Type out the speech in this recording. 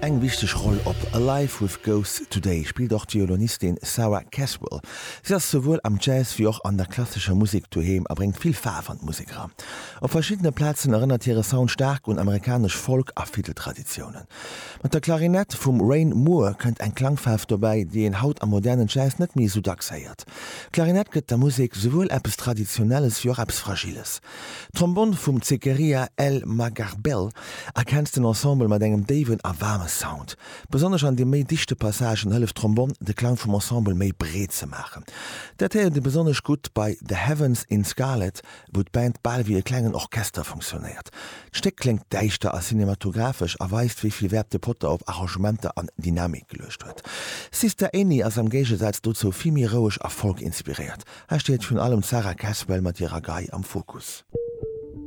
Eng wichteg Roll op Alive With Ghosts Today spillt och d'Violonistin Sarah Caswell. Si ass souwuel am Jazz wéi och an der klassescher Musek doheem a bréngt vill Faarf an d'Musek eran. Op verschiddene Plazen erënnert hire Sound staark un amerikanesch Folk a Fiddeltraditiounen. Mat der Klarinett vum Rain Moore kënnt eng Klangfaarf dobäi, déi een haut am modernen Jazz net méi esou dacks héiert. D'Klarinett gëtt der Musek souwuel eppes Traditionelles wéi och eppes Fragiles. D'Trombonn vum Zekeria El Magharbel ergänzt den Ensemble mat engem déiwen a waarme Sound. Besonnesch an de méi dichte Passagen hëlleft d'Trombonn, de Klang vum Ensemble méi breet ze maachen. Dat héiert ee besonnesch gutt bei The Heavens in Scarlet, wou d'Band bal wéi e klengen Orchester funktionéiert. D'Stéck kléngt däischter a cinematographesch a weist, wéi vill Wäert de Potter op Arrangementer an Dynamik geluecht huet. Sister Annie ass am Géigesaz dozou vill méi roueg a folk-inspiréiert. Hei steet virun allem d'Sarah Caswell mat hirer Gei am Fokus.